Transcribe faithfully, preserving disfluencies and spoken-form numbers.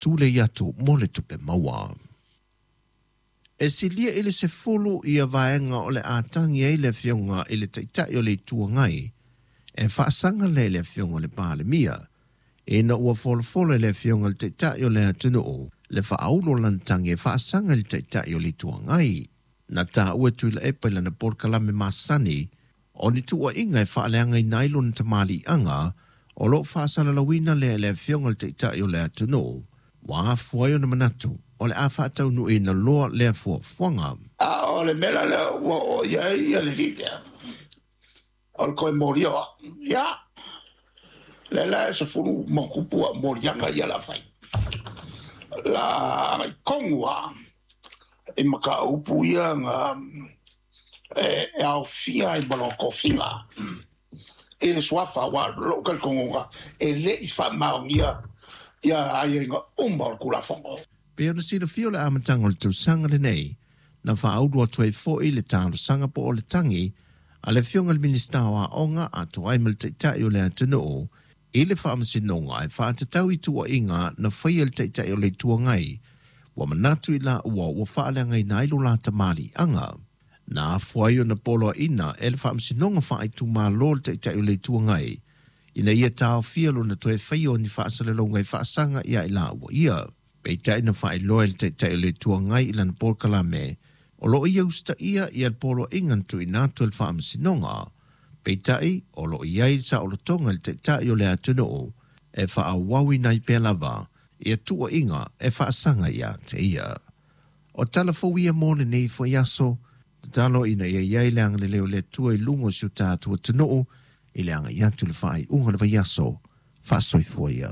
Tulei atu mo le tupe maua. E silia i le sefulu ia vaega o le a tagi ai le Afioga i le Taitai o le Itu Agai e faasaga lea i le Afioga i le Palemia, ina ua folafola e le Afioga i le Taitai o le atunuu le faaulu o lana tagi e faasaga i le Taitai o le Itu Agai. Na taua e Tuilaepa i lana polokalame masani o ni tuuaiga e faaleagaina ai lona tamaliiaga o lo o faasalalauina lea e le Afioga i le Taitai o le atunuu, ua afua ai ona manatu o le a faataunuuina loa lea fuafuaga. A o le mea la lea ua oo i ai le lea o le toe molia o au. Ia, lea la e sefulu ma tupu au moliaga ia la fai. La agai tonu lava i mataupu ia na e, e aofia ai ma lona tofiga i le suafa, aua o lou talitonuga e le i faamaonia ia aiaiga uma o le Tulafono. Pei ona silafia o le amataga o le tausaga lenei, na faaulu atu ai foi le talosaga po o le tagi a le Afioga i le Minisita o Aoga atoa ai ma le Taitai o le atunuu i le Faamasinoga e faatatau i tuuaiga na faia e le Taitai o le Itu Agai ua manatu i laua ua faaleagaina ai lo la tamaliiaga. Na afua ai ona poloaiina e le Faamasinoga Faaitumalo le Taitai o le Itu Agai ina ia taofia lona toe faia o ni faasalalauga e faasaga ia i laua ia. Peitai na faailoa e le Taitai o le Itu Agai i lana polokalame o lo o ia usitaia ia le poloaiga na tuuina atu e le Faamasinoga. Peitai o lo o i ai le saolotoga i le Taitai o le atunuu e faaauauina ai pea lava ia tuuaiga e faasaga ia te ia. O tala fou ia mo lenei foi aso, tatalo ina ia i ai le agalelei o le Atua i luga o si o tatou atunuu i le agai atu i le faaiuga o le vaiaso. Faasoifua ia.